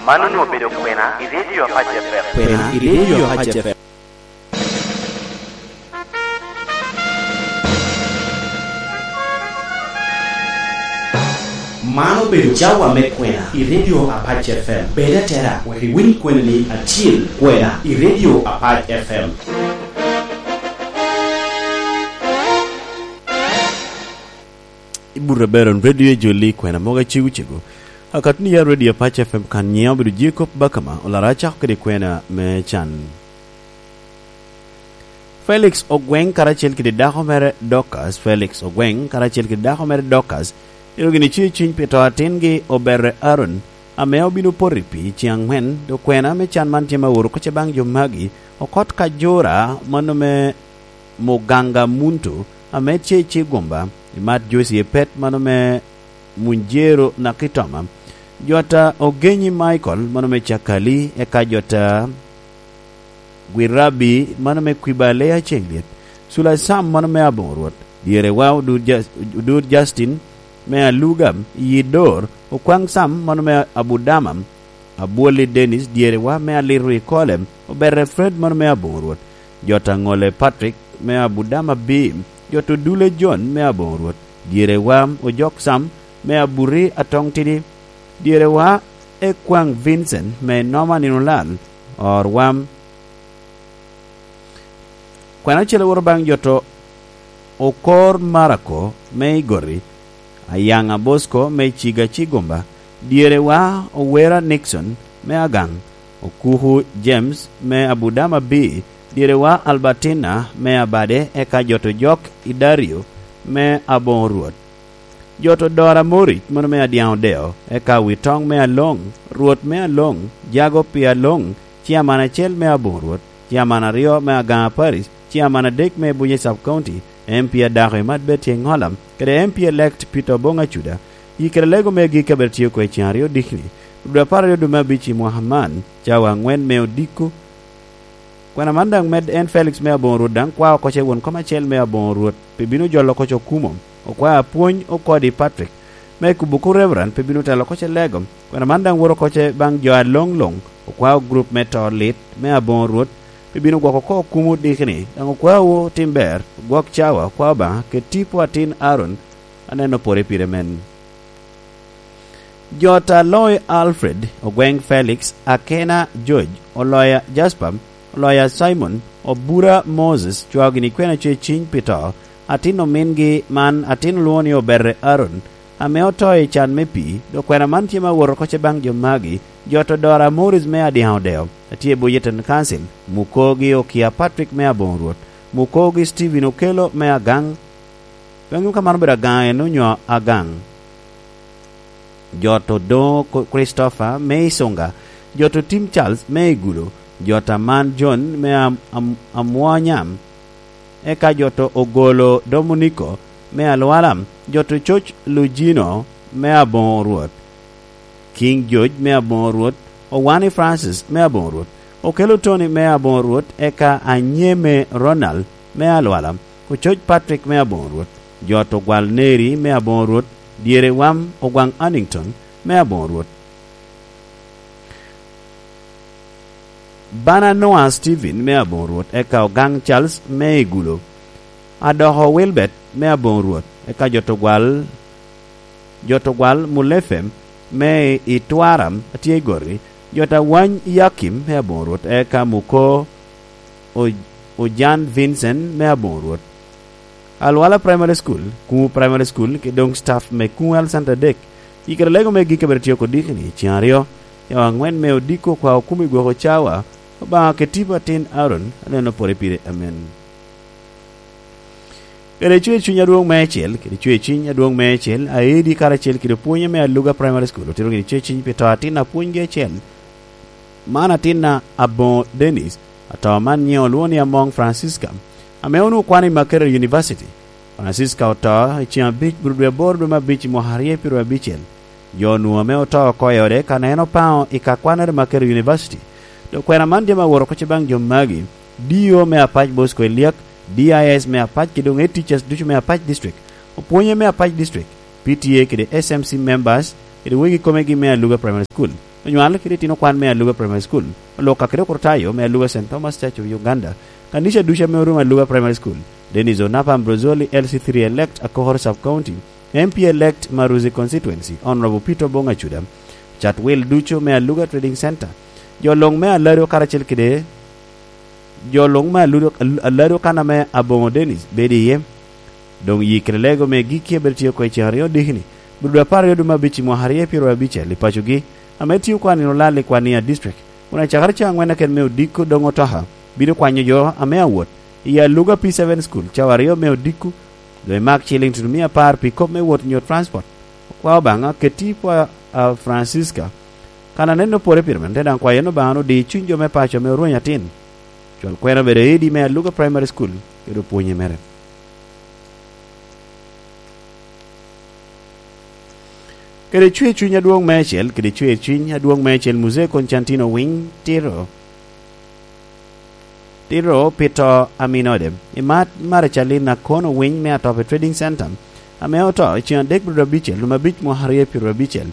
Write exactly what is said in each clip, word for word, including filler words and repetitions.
Man onwoŋo obedo kwena i Radio Apac F M. Kwena i Radio Apac F M. Man obedo cawa me kwena i Radio Apac F M. Bed atera wek iwiny kweni acil, kwena i Radio Apac F M. Ibut aber on Radio Ejoli, kwena mogo acegu cegu. Akatni ya Radio Apac F M kan nyiŋa obedo Jacob Bakama, olara acako kede kwena me can. Felix Ogweng karacel kede dako mere Dorcas, Felix Ogweng karacel kede dako mere Dorcas, ero gini tye i cwiny pi to atingi Oberre Aaron, ame obino poto i pii ceŋ aŋwen, dok kwena me can man tye ma oro kocce baŋ jo magi, okot ka jora, mano me Muganga Muntu, ame tye i Cigumba, i Mat Joyce Epet, mano me Munjero Nakitoma, jota Ogenyi Michael, mano me Cakali, eka jota Gwirabi, mano me Kwibale Aceŋ Lyet, Cula Sam, mano me Aboŋo Rwot, Dyerewa Odur Jas-, Odur Justin, me Aluga, Yidor, Okwaŋ Sam, mano me Abudama, Abwoli Dennis, Dyerewa me Aliro i Kole, Oberre Fred, mano me Aboŋo Rwot, jota Ŋole Patrick, me Abudama B, jota Odule John, me Aboŋo Rwot, Dyerewa Ojok Sam, me Aburi Atoŋ Tidi, Dyerewa Ekwaŋ Vincent, me Noma Nino Lal, Orwa. Kwena ocele woro baŋ joto Okor Marako me Igori, Ayaŋa Bosco me Ciga Cigumba, Dyerewa Owera Nixon me Agaŋ, Okuku James me Abudama B, Dyerewa Albertina me Abade, eka joto Jok Idario me Aboŋo Rwot. Joto Dora Moric, mano me Adyaŋ Odeo, eka Witoŋ me Aloŋ, Rwot me Aloŋ, Jago pi Aloŋ, Ciaman acel me Aboŋo Rwot, Ciaman aryo me Agaŋa Parish, Ciaman adek me Bunye Sub County, M P adako i Mat Betty Eŋola, kede M P elect Peter Oboŋ Acuda. Yi kede lego me agikki a bed tye oko i ceŋ aryo dikni, dwe apar aryo dwe me abic i mwaka man, cawa aŋwen me odiko. Kwena man daŋ med en Felix me Aboŋo Rwot daŋ kwao oko ce won kom acel me Aboŋo Rwot, pe bino jolo oko ce okumo. Okwao apwony okodi Patrick, me kubo oko Reverend, pe bino telo oko ce lego. Kwena man daŋ woro oko ce baŋ jo a loŋ loŋ, okwao gurup me to lit me Aboŋo Rwot, pe bino gwoko oko okumo dikni, daŋ okwao tim ber, gwok cawa, okwao Obaŋa, kede tipo atin Aaron, aneno pore pire men. Jot Aloy Alfred, Ogweng Felix, Akena George, Oloya Jasper, Oloya Simon, Obura Moses, cwao gini kwena ce ciny pi to, atin omingi man, atin olwoŋo ni Oberre Aaron, ame oto i can me pii, dok kwena man tye ma woro oko ce baŋ jo magi, jot Odora Morris me Adyaŋ Odeo, a tye i Bujeton Council, Mukogi Okia Patrick me Aboŋo Rwot, Mukogi Stephen Okello me Agaŋ, pe ŋeo ka man obedo Agaŋ en onyo Agaŋ. Jot Odoŋo Ko-, Christopher me Isunga, jot Otim Charles me Igulo, jot Aman John me Am-, Am-, Amwonya, eka jot Ogolo Dominico me Alwala, jot Coc Lujino me Aboŋo Rwot, King George me Aboŋo Rwot, Owani Francis me Aboŋo Rwot, Okello Tony me Aboŋo Rwot, eka Anyeme Ronald me Alwala, Ococ Patrick me Aboŋo Rwot, jot Ogwal Neri me Aboŋo Rwot, Dyere Wam Ogwaŋ Annington me Aboŋo Rwot, Bana Noah Stephen me Aboŋo Rwot, eka Ogaŋ Charles me Igulo, Adoko Wilbert me Aboŋo Rwot, eka jot Ogwal, jot Ogwal Mulefe me i Twaram a tye i Gori, jot Awany Yakim me Aboŋo Rwot, eka Muko O-, Ojan Vincent me Aboŋo Rwot. Alwala Primary School, Kumu Primary School, kede doŋ staff me Kumu Health Center adek. Yi kede lego me gik a bed tye oko dikni, ceŋ aryo, cawa aŋwen me odiko kwa okumo i gwoko cawa, Obaŋa kede tipo atin Aaron, aneno pore pire, amen. Kede cwer cuny adwoŋ me acel, kede cwer cuny adwoŋ me acel, aedi karacel kede opwonye me Aluga Primary School, otito gini cwer cuny pi to atin apwonygi acel. Man atinna Aboŋo Dennis, ato man nyiŋe olwoŋo ni Amoŋ Francisca, ame onwoŋo kwano i Makerere University. Francisca oto i ceŋ abic bur dwe aboro dwe me abic i mwaka aryo i pyeraryo abicel. Jo onwoŋo ame oto oko i ode kan en opaŋo i ka kwanere i Makerere University. Dok kwena man tye ma woro oko ce baŋ jo magi, D O me Apac Bosco Eliak, D I S me Apac, kede doŋ head teachers ducu me Apac District, opwonye me Apac District, P T A kede S M C members, kede wegi komegi me Aluga Primary School, onywal kede itino kwan me Aluga Primary School, olok ka kede okrutayo me Aluga Saint Thomas Church of Uganda, kanica ducu ame orumo Aluga Primary School, Dennis Onapa Ambrozoli, L C three elect, Akokoro Sub County, M P elect, Maruzi Constituency, Honorable Peter Obong Acuda, cat wil ducu me Aluga Trading Center, jo luŋ me Alario karacel kede jo luŋ me Aludo-, Al-, Alado kan ame Aboŋo Dennis bedo iye. Doŋ yi kede lego me gikki a bedo tye oko i ceŋ aryo dikini, Budo apar aryo dwe me abic i mwaka aryo pyeraryo abicel i pacogi, ame tio kwan nino lal i Kwania District, kun acakere cawa aŋwen aket me odiko doŋ otoka bino kwanyo jo ame awot i Aluga P seven School cawa aryo me odiko, doŋ imak ciliŋ tutumia apar pi kop me wot nyo transport. Okwao Obaŋa ketti i pwa a Francisca, kan aneno pore pire men, te daŋ kwayo en Obaŋa ni odi cuny jo me paco ame orweny atin. Cwal kwena obedo Edi me Aluga Primary School kede opwonye mere. Kede cwer cuny adwoŋ meicel, kede cwer cuny adwoŋ meicel, Muzee Constantino Winy Tiro, Tiro pi to a minode. I mat Maracalin Akono Winy me Atop i Trading Center, ame oto i ceŋ adek bro abicel, lum abic mwaka aryo pyeraryo abicel,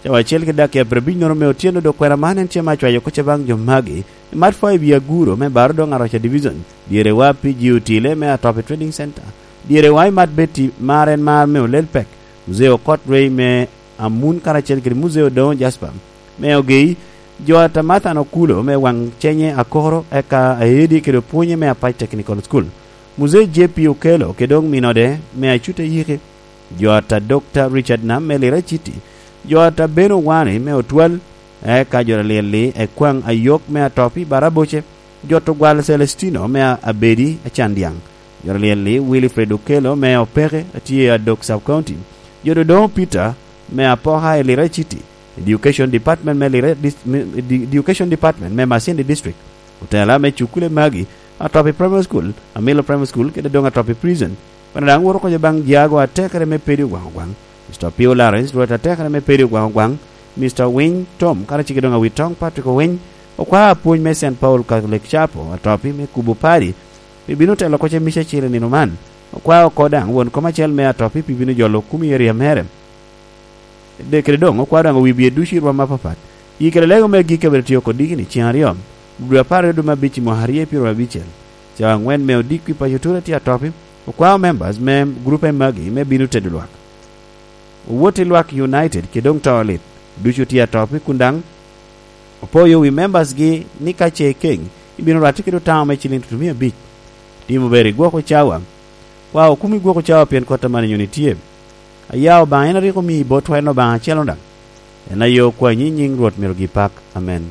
cawa acel kede dakika pyerabicnono me otyeno, dok kwena man en tye ma acwayo kocca baŋ jo magi. I mat Fo i Biaguro me Baro Doŋ Aroca Division, dyerewa P G Otile me Atop i Trading Center, dyerewa i mat Betty mar en mar me Olel Pek, Muzee Okot Rwei me Amun karacel kede Muzee Odoŋo Jasper me Ogei, jo a Tamathan Okulo me Waŋ Cenye Akoro, eka Aedi kede opwonye me Apac Technical School, Muzee J P Okelo kede doŋ minode me Acuta Yiki, jo ata Dokta Richard Nam me Lira City, jo ata Beno Wani me Otwal, eka jo alyel-li Ekwaŋ Ayok me Atopi Baraboce, jo Tugwal Celestino me Abedi Acandyaŋ, jo alyel-li Wilfred Okelo me Opeke a tye i Adok Sub County, jo Dodoŋo Peter me Apoka i Lira City, Education Department me Lira Dis-, me, Edu-, Education Department me Masindi District, otela me cukule magi, Atopi Primary School, Amilo Primary School, kede doŋ Atopi Prison. Bene daŋ woto kocca baŋ Jago atekere me Pedi Ogwaŋ Ogwaŋ, Mister Pio Lawrence, Rwot atekere me Pedi Ogwaŋ Ogwaŋ, Mister Winy Tom, karacel kede doŋ Awitoŋ Patrick Owiny, okwa apwony me Saint Paul Catholic Chapel, Atopi me kubo padi, pi bino telo kocca i mica acel i nino man. Okwa oko daŋ won kom acel me Atopi pi bino jolo okumi i eria mere. De kede doŋ okwao daŋ owi bye ducu i rwom apapat. Yi kede lego me gik abedo tye oko dikini ceŋ aryo, dwe apar aryo dwe me abic i mwaka aryo pyeraryo abicel, cawa aŋwen me odiko i paco Tura tye Atopi, okwao members me grupe magi me bino tedo lwak. Owot i lwak United kede doŋ to lit, ducu tye Atopi kun daŋ opoyo wi members gi ni ka ce ikeŋ, ibino rwatti kede otamo me ciliŋ tutumia abic. Timo ber i gwoko cawa. Kwa okumi gwoko cawa pien kota man inyoni tye. Aya Obaŋa en a rik omii botwa en Obaŋa acel-lo daŋ. En aye okwanyi i nyiŋ Rwot myero gi pak. Amen.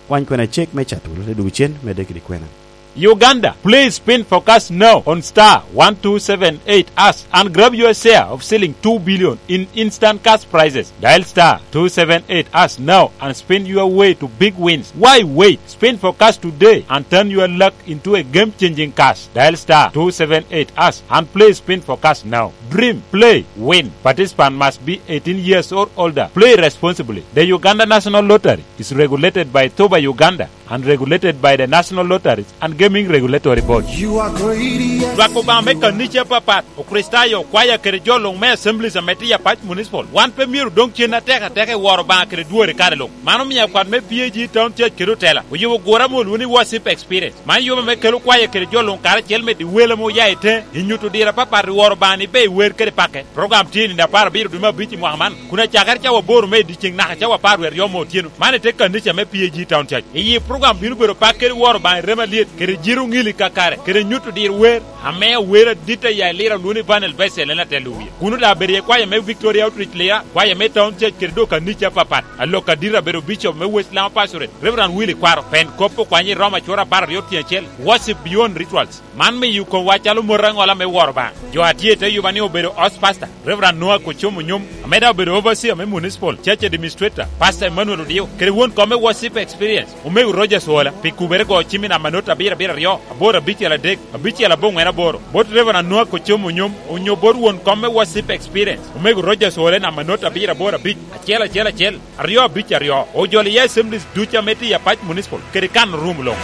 Kwany kwena cek me Catul, te dwogo cen, medde kede kwena. Uganda, please spin for cash now on star one two seven eight hash and grab your share of ceiling two billion in instant cash prizes. Dial star two seven eight hash now and spin your way to big wins. Why wait? Spin for cash today and turn your luck into a game-changing cash. Dial star two seven eight hash and play spin for cash now. Dream, play, win. Participant must be eighteen years or older. Play responsibly. The Uganda National Lottery is regulated by Toba Uganda and regulated by the National Lotteries and Gaming Regulatory Board. You are great, yes. Lwak Obaŋa me kanica apapat, Okricitayo, kwaya kede jo luŋ me Assemblies ame tye Apac Municipal, wan pe myero doŋ cen atek ateka i woro Obaŋa kede dwori kare luŋ. Man omio akwat me P A G Town Church kede otela oyubo gure ame olwoŋo ni Worship Experience. Man yub ame kelo kwaya kede jo luŋ karacel medo i wel ame oya i teŋe, i nyuto diro apapat i woro Obaŋa ni ber i wer kede pake. Program tye i nino apar abiro dwe me abic i mwaka man, kun acakere cawa aboro me i dyeceŋ naka cawa apar wie aryo me otyeno. Man i te kanica me P A G Town Church. I yi program bino bedo pak kede woro Obaŋa i remo alyet, kede jiro ŋili kakare, kede nyuto diro wer, ame awer adit aya i Lira olwoŋo ni Vanel Bessel en atelo wie. Kuno daŋ abedo iye kwaya me Victoria Outreach Lira, kwaya me Town Church kede dok kanica apapat. Alok adit abedo Bishop me West Lama Pastorate, Reverend Willy Kwaro, pen kop okwanye i Roma acwora apar aryo tyen acel, Worship Beyond Rituals. Man miyo komwa calo mot aŋola me woro Obaŋa. Jo a tye i te yuba ni obedo house pastor, Reverend Noah Kocomo Nyom, ame daŋ obedo overseer me municipal church administrator, Pastor Emmanuel Odio, kede won kom me Worship Experience, Omego Rogers Ola, pi kubere go cim i namba not abiro abiro aryo, aboro abicel adek, abicel aboŋwen aboro, bot Reverend Noah Kocomo Nyom, onyo bot won kom me Worship Experience, Omego Rogers Ola i namba not abiro aboro abic, acel acel acel, aryo abic aryo. Ojolo iye assemblies ducu ame tye i Apac Municipal kede kan orum luŋ.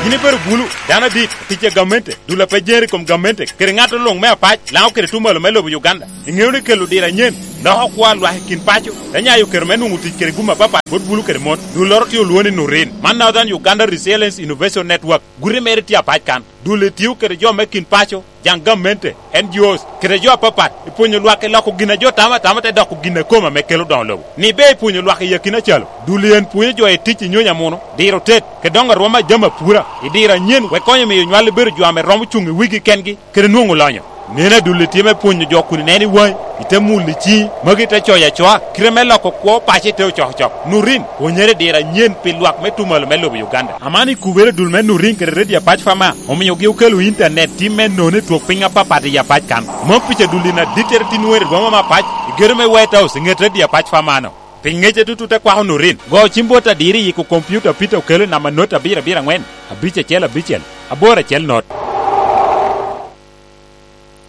Yin ibedo bulu, dano adit, tic a gamente, dul a pe jeri i kom gamente, kede ŋat luŋ me Apac, Laŋo kede Tumalo me lobo Uganda. Iŋeo ni kelo diro anyen Dok okwo a lwak i kin paco, te nyayo kero me nwoŋo tic kede gum apapat bot bulu kede mon. Dulloro tye olwoŋo ni Nurin. Man Northern Uganda Resilience Innovation Network. Guti mere tye apac kan. Dul-li tio kede jo me kin paco, jaŋ gamente, N G Os, kede jo apapat, i pwonyo lwak i loko gin a jo tamo atama te doko gin a kome ame kelo doŋo lobo. Ni ber i pwonyo lwak i akina calo. Dul-li en pwonyo jo i tic i nyonyo amuno, diro tet, kede doŋo arwom a jami apura, i diro anyen, wek konyo miyo nywal bedo jo ame romo cuŋ i wigi kengi, kede nwoŋo lonyo. Neno adul-li tye me pwonyo jo kun ineno i waŋi, ite mulo i ciŋi, magi te coyo acoa, kite me loko kwo paco i te ocokocok. Nurin, pwonyere i diro anyen pi lwak me tumalo me lobo Uganda. Aman i kubere dul me Nurin kede Radio Apac Fama, omiogi okelo intanet tim me nono i twok piny apapat i Apac kan. Mom pica dul-li na dittere tin wer i boma me Apac, i gedo me White House, i ŋet Radio Apac Fama-no. Pi ŋece tutu te kwako Nurin, go cim bot adiro i yiko kompiuta Peter Okello i namba not abiro abiro aŋwen, abic acel abicel, aboro acel not.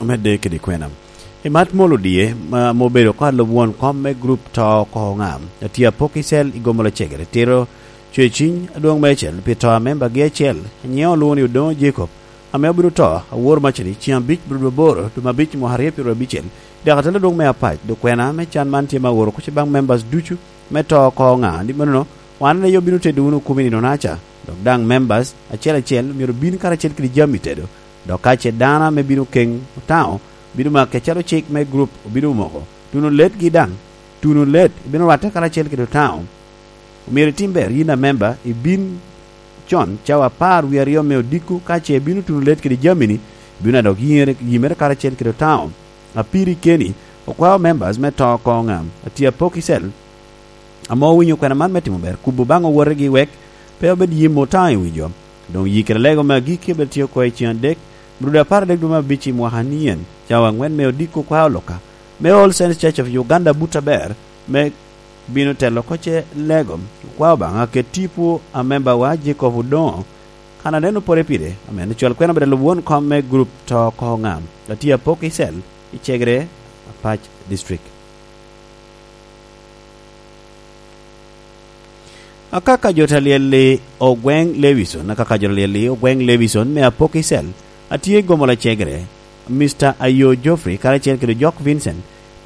Omedde kede kwena. I mat molo die, ma, ma obedo oko alub won kom me grup to oko oŋa, atye apok i cel i gomo lacegere, tito cweciny adwoŋ meicel pi to a membagi acel, nyiŋe olwoŋo ni Odoŋo Jacob, ame obino to, awor macani, ceŋ abic, dwe aboro, dwe me abic, mwaka aryo pyeraryo abicel, i dakatal adwoŋ me Apac. Dok kwena me can man tye me awor oko baŋ members ducu me to oko oŋa, ni manono, wan aye obino tedo wunu okumi nino-naca, dok daŋ members acel acel myero bin karacel kede jami tedo. Dok ka ce dano ame bino keŋ otaŋo, bino make acalo cik me grup obino moko. Tuno letgi daŋ, tuno let ibino rwatte karacel kede otaŋo. Omyero itim ber yin amemba, ibin con cawa apar wie aryo me odiko, ka ce ibino tuno let kede jami-ni, ibino adok yiŋere, yimere karacel kede otaŋo. Apiri keni, okwao members me to oko oŋa, atye apok i cel. Ame owinyo kwena man me timo ber, kubo baŋ owotegi wek pe obed yim otaŋo i wi jo. Doŋ yikere lego me agikki obed tye oko i ceŋ adek, Brudo apar adek dwe me abic i mwaka nien, cawa aŋwen me odiko kwa oloka, me All Saints Church of Uganda but aber, me bino telo oko ce lego, kwa Obaŋa ket tipo a membawa Jacob Odoŋo, kan aneno pore pire, amen ocwal kwena bed alub won kom me grup to oko oŋa, atye apok i cel, i Cegere, Apac District. Akaka jo ta lyel-li ogweŋ Lewison, akaka jo ta lyel-li ogweŋ Lewison me apok i cel, atye i gomo lacegere, Mister Ayo Geoffrey karacel kede Jok Vincent,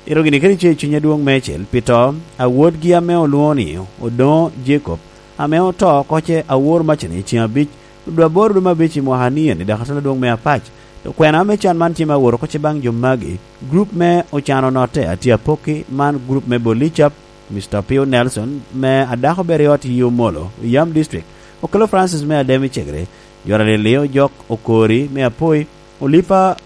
ero gini kede ce i cuny adwoŋ meicel pi to a wodgi ame olwoŋo ni Odoŋo Jacob, ame oto oko ce awor macani i ceŋ abic, dwe aboro dwe me abic i mwaka ni en i dakatal adwoŋ me Apac. Dok kwena me can man tye me awor oko ce baŋ jo magi, grup me ocano notte atye apokki, man grup me Bolicap, Mister Opio Nelson, me a dako ber i ot i Omolo, i Yam District, Okello Francis me Adem i Cegere, jo ta lyel-li Ojok Okori me Apoi, Olipa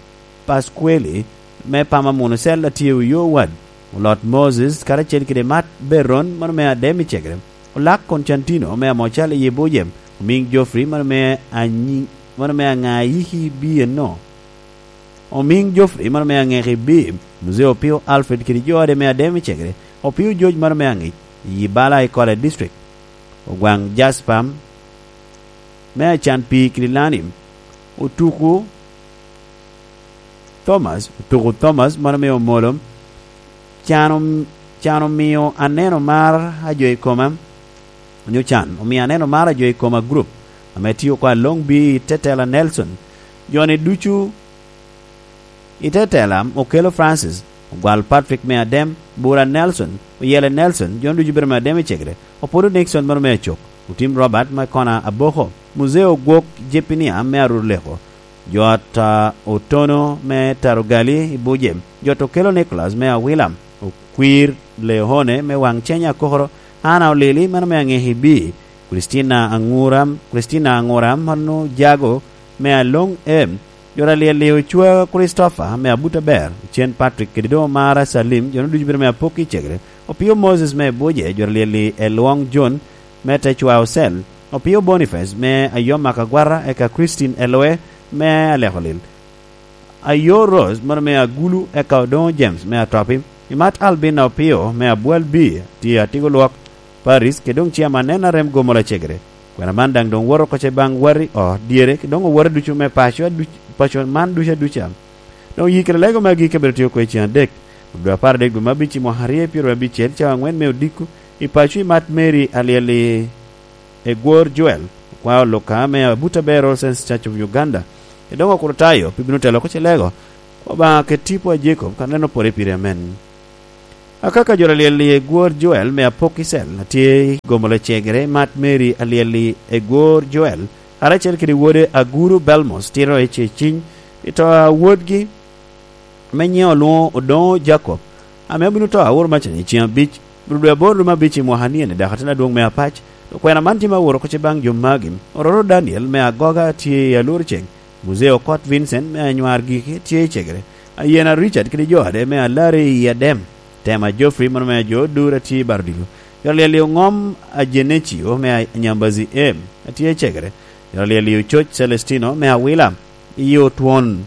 Pasqueli me Pama Muno Cell atye i Oyo Ward, Olot Moses karacel kede Mat Beron, mano me Adem i Cegere, Olak Constantino me Amocal i Ibujem, Omiŋ Geoffrey, mano me Anyi-, mano me Aŋayiki B eno. Omiŋ Geoffrey, mano me Aŋeki B, Muzee Opio Alfred kede jo ode me Adem i Cegere, Opio George, mano me Aŋic, i Bala i Kole District, Ogwaŋ Jasper, me Acan Pii kede Lani, Otuku Thomas, Otuku Thomas, mano me Omolo, can om-, can omio aneno mar a jo i koma, onyo can omio aneno mar a jo i koma group, ame tio oko a Long B i tetela Nelson, jo-ni ducu i tetela Okello Francis, Ogwal Patrick me Adem, Bura Nelson, Oyele Nelson, jo-ni ducu bedo me Adem i Cegere, Opodo Nixon mano me Acok, Otim Robert me Kona Aboko, Muzee Ogwok Jepinia me Arur Leko, jo ot a Otono me Tarugali i Buje, jo ot Okello Nicholas me Awila, Okwir Leone me Waŋ Cenya Akokoro, Ana Olili mano me Aŋeki B, Christina Aŋura, Christina Aŋura mano Jago me Aloŋ M, jo ta lyel-li Ocwa Christopher me Abuta Ber, Ocen Patrick kede doŋ Omara Salim, jo-nu ducu bedo me Apokki i Cegere, Opio Moses me Buje, jo ta lyel-li Elwoŋ John me Tecwa Ocel, Opio Boniface me Ayom Akagwara, eka Christine Eloe me Alekolil, Ayo Rose mano me Agulu, eka Odoŋo James me Atopi, Imat Albina Opio me Abwal B, tye Atigo Lwok, Paris, kede doŋ Chairman N R M Gomola Cegere. Kwena man daŋ doŋ woto oko ce baŋ wati o dyere, kede doŋ owote ducu me paco aduc-, paco man ducu aduca. Doŋ yikere lego me agikki abino tye oko i ceŋ adek, dwe apar adek dwe me abic i mwaka aryo pyeraryo abicel, cawa aŋwen me odiko, i paco i Mat Mary Alyel-li Egwor Joel, okwao Luka me Abuta Bear All Saints Church of Uganda, kede doŋ Okrutayo, pe bino telo oko ce lego. Obaŋa ket tipo a Jacob, kan aneno pore pire, amen. Akaka jo alyel-li Egwor Joel me Apok Icel, atye i gomo lacegere Mat Mary alyel-li Egwor Joel, karacel kede wode Aguru Belmos, tito i ceciny, i to a wodgi, me nyiŋe olwoŋo Odoŋo Jacob, ame obino to auro macani i ceŋ abic, bro dwe aboro dwe me abic i mwaka ni eni, dok atin adwoŋ me Apac. Okwena man tye ma aworo oko ce baŋ jo magi: Ororo Daniel me Agoga tye i Alur Ceŋ, Muzee Okot Vincent me Anywar Giki tye i cegere, Ayena Richard kede jo ade me Alari i Adem, Tema Geoffrey mano me Ajo Odura tye i Barodilo, jo alyel-li Oŋom Ajenecio me Anyambazi Em atye i cegere, jo alyel-li Ococ Celestino me Awila i Otwon,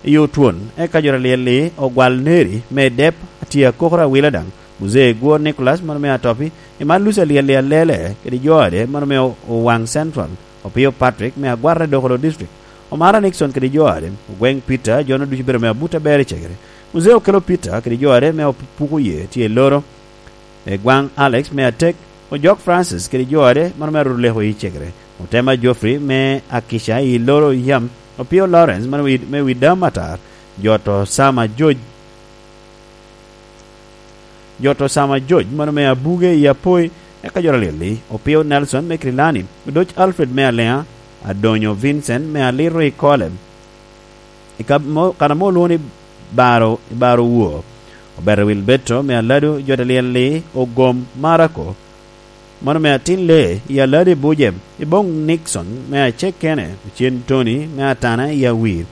i Otwon, eka jo alyel-li Ogwal Neri me Dep atye akokoro Awila daŋ, Muzee Egwor Nicholas mano me Atopi, i man Lucy alyel-li Alele kede jo ade mano me Owaŋ Central, Opio Patrick me Agwara i Dokolo District, Omara Nixon kede jo ade, Ogweŋ Peter, jo-nu ducu bedo me abut aber i cegere, Muzee Okelo Peter kede jo ade me Opuko Ye tye i Loro, Egwaŋ Alex me Atek, Ojok Francis kede jo ade mano me Aruleko i cegere, Otema Geoffrey me Akica i Loro yam, Opio Lawrence mano me Wi-, me Widam Atar, jo to Sama George, jo to Sama George mano me Abuge i Apoi, eka jo alyel-li Opio Nelson me Kirilani, Odoc Alfred me Aleŋa, Adonyo Vincent me Aliro i Kole, i ka mo-, kan ame olwoŋo ni Baro, i Baro Woo, Obeto Wilberto me Alado, jo alyel-li Ogom Marako, mano me Atin Lee i Alado i Buje, i Boŋ Nixon me Acekene, Ocen Tony me Atana i Awir.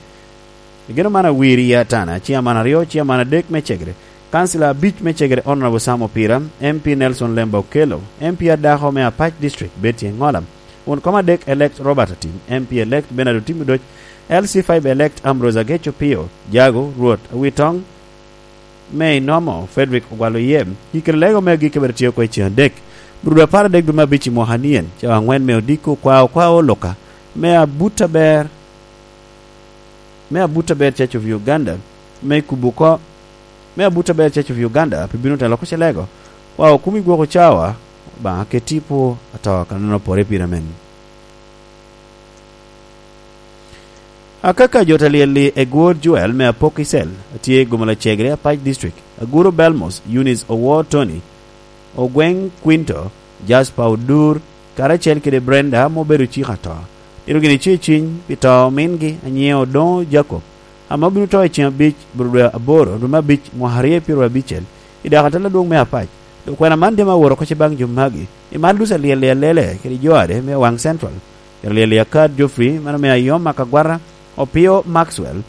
I geno man Awir i Atana, ciaman aryo, ciaman adek me cegere, kancila abic me cegere, Honorable Sam Opira, M P Nelson Lemba Okello, M P adako me Apac District, Betty Engola, won kom adek elect Robert Atim, M P elect Bernard Otim Odoc, L C five elect Ambrose Agech Opio, Jago, Rwot Awitoŋ, me Inomo, Frederick Ogwal Oyem, i kare lego me agikki bene tye oko i ceŋ adek, bro dwe apar adek dwe me abic i mwaka nien, cawa aŋwen me odiko, kwa okwa oluka, me abut aber, me abut aber Church of Uganda, me kubo oko, me abut aber Church of Uganda, pi bino telo oko ce lego, kwa okumi gwoko cawa, Obaŋa keti pwo ato, kannono pore pire men. Akaka jo alyel-li Egwor Joel me Apok Icel, atye i Gomala Cegere, Apac District, Aguro Belmos, Eunice Owor Tony, Ogweŋ Quinto, Jasper Odur, karacel kede Brenda ame obedo cik ato. Tito gini ce ciny pi to omingi, anyiŋe Odoŋo Jacob, ame obino to i ceŋ abic, bro dwe aboro, dwe me abic, mwaka aryo pyeraryo abicel, i dako atel adwoŋ me Apac. Dok kwena man tye ma aworo oko ce baŋ jo magi, i man Lucy alyel-li Alele kede jo ade me Owaŋ Central, jo alyel-li Akar Geoffrey, mano me Ayom Akagwara, Opio Maxwell,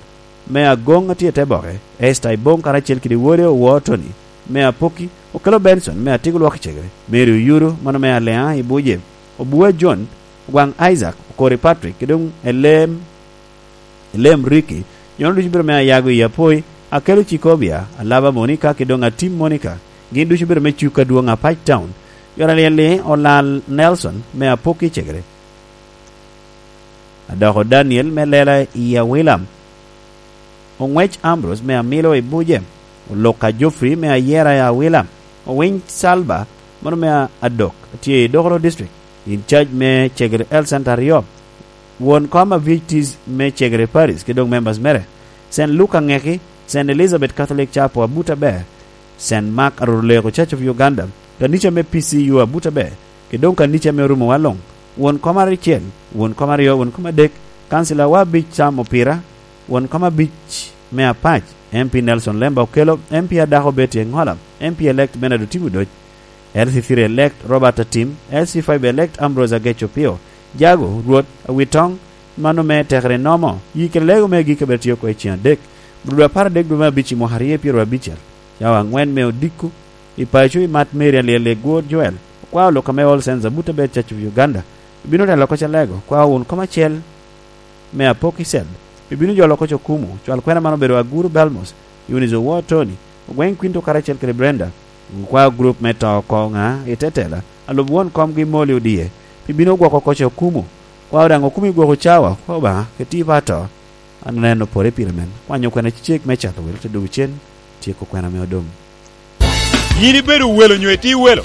me Agoŋ atye i te boke, Esther Iboŋ karacel kede wode Owor Tony, me Apoki, Okelo Benson, me Atiko Lwok i Cegere, Mary Oyuro, mano me Aleŋa i Buje, Obua John, Ogwaŋ Isaac, Okori Patrick, kede doŋ Elem, Elem Ricky, jo-nu ducu bedo me Ayago i Apoi, Akelo Cikobia, Alaba Monica, kede doŋ Atim Monica, gin ducu bedo me Cuka Dwoŋ Apac Town, jo alyel-li Olal Nelson, me Apoki i Cegere. Adoko Daniel me Lela i Awila, Oŋwec Ambrose me Amilo i Buje, Oluka Geoffrey me Ayera i Awila, Owiny Salva, mano me Adok, tye i Dokoro District, in charge me Cegere Health Center aryo, won kom Avitis me Cegere Paris, kede doŋ members mere, Saint Luke Aŋeki, Saint Elizabeth Catholic Chapel Abuta Ber, Saint Mark Aruruleko Church of Uganda, kanica me P C U Abuta Ber, kede doŋ kanica me Orumo Waloŋ, won kom aricel, won kom aryo, won kom adek, kancilawa abic Sam Opira, won kom abic me Apac, M P Nelson Lemba Okello, M P adako Betty Engola, M P elect Bernard Otim Odoc, L C three elect Robert Atim, L C five elect Ambrose Agech Opio, Jago, Rwot, Awitoŋ, mano me Tekere Nomo, yi kede lego me gik abed tye oko i ceŋ adek, bro dwe apar adek dwe me abic i mwaka aryo pyeraryo abicel. Cawa aŋwen me odiko, i paco i Mat Mary alyel i Gwor Joel, okwao lok ame All Saints Abuta Bed Church of Uganda, ibino telo oko calego, kwao wun kom acel me Apok Icel, ibino jolo oko Cokumu, cwal kwena man obedo Aguru Belmos, Eunice Owor Tony, Ogweng Quinto karacel kede Brenda, okwao gurup me to oko ŋa i te tela, alub won komgi Moli Odie, pi bino gwoko oko Cokumu, kwao daŋ okumi gwoko cawa, kwa Obaŋa, keti pa to. An aneno pore pire men. Kwanyo kwena cecek me cato wel te dwogo cen, tyeko kwena me odom. Yin ibedo welo nyo itye welo?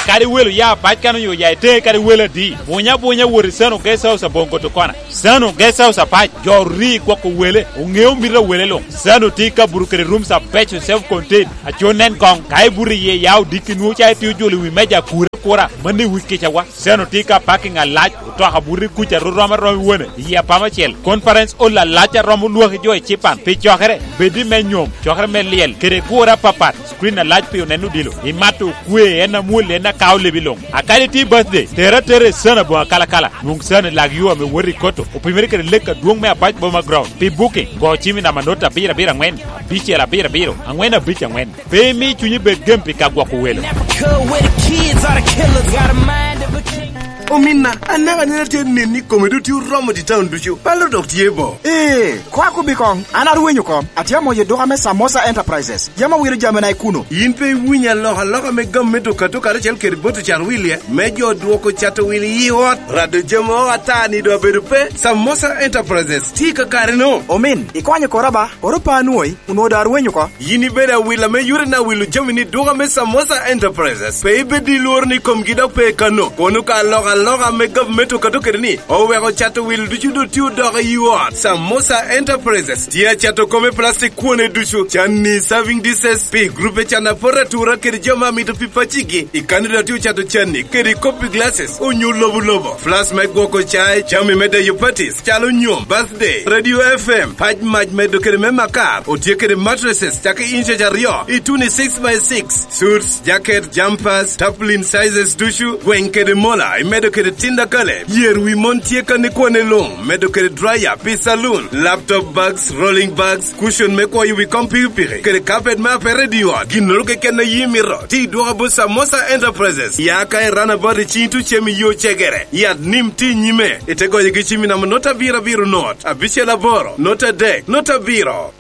Kadi welo ya apac kan onyo ya ite, kadi welo adi. Bunya bunya wot i Sano Guest House aboŋ Gotokona. Sano Guest House apac, jo ori gwoko wele, oŋeo mito a wele luŋ. Sano tye i Kaburu kede rooms abeco self contained. Aco nen koŋ, ka ibuto iye ya odiki nwoŋo ca itye ojolo i wi meja kura kura, mano i wi kicawa. Sano tye ka parking alac, otoka buto i kuca ru rom arom i wone, i apama acel. Conference hall alac a romo lwaki jo i Cipan. Pi cokere, bed i me nyom, cokere me lyel, kede gure apapat, screen alac pi onen odilo. Imato okwe, en amwol, en akao lebi luŋ. A kadi tye birthday, tere atera i Sano aboŋo akalakala. Nwoŋ Sano i lak yo ame wot i Koto, opimere kede lek adwoŋ me Apac Boma Ground. Pi booking, go cim i namba not abiro abiro aŋwen, abicel abiro abiro, aŋwen abic aŋwen. Pe imi cunyi bed gem pi ka gwoko welo. Ominna, anaka nene tye neni kome duti oromo di town ducu. Palo dok tye bo. Ee, kwa kubi koŋ, an arwenyo koŋ. Atye amoyo duka me Samosa Enterprises. Yam awilo jamina i kuno. In pe iwinyo alokaloka me gam me duka duka karacel kede boto cat wilie? Me jo dwoko cato wil i ot, rado jami o ata ni do abedo pe. Samosa Enterprises tye kakare no. Omin, ikonyo kora ba, oro pa anwoyi. Onwoŋo daŋ arwenyo oko. Yin ibedo awila me yore na wilo jami ni duka me Samosa Enterprises. Pe ibed i lworo ni komgi dok pe kano. Kono ka alokaloka me gavumenti okato kede ni oweko cato wilo ducu doŋ tye odoko i ot. Samosa Enterprises tye acato kome plastic kwone ducu, canni, serving dishes, pi grupe can apot atura kede jo ma mito pi pacigi. I kano doŋ tye ocato canni kede kopi glasses onyo lobo lobo. Flask me gwoko cai, jami me deyo parties, calo nyom, birthday, radio F M, pac mac medo kede me makar, otye kede mattresses cake inches aryo, i twenty-six by six, suits, jacket, jumpers, tarpaulin sizes ducu, gweng kede mola, imedo kede tinda kale, yer wi mon tye kan ikwane luŋ, medo kede dryer pi saloon, laptop bags, rolling bags, cushion me kwoyo wi kom pikipiki, kede carpet me apere i ot, ginnoro keken a yi mito, ti dwoka bot Samosa Enterprises, ya ka i runabout i cing tucem i yo cegere, yat nim ti nyime, ite goyo gi cim i namba not abiro abiro not, abicel aboro, not adek, not abiro.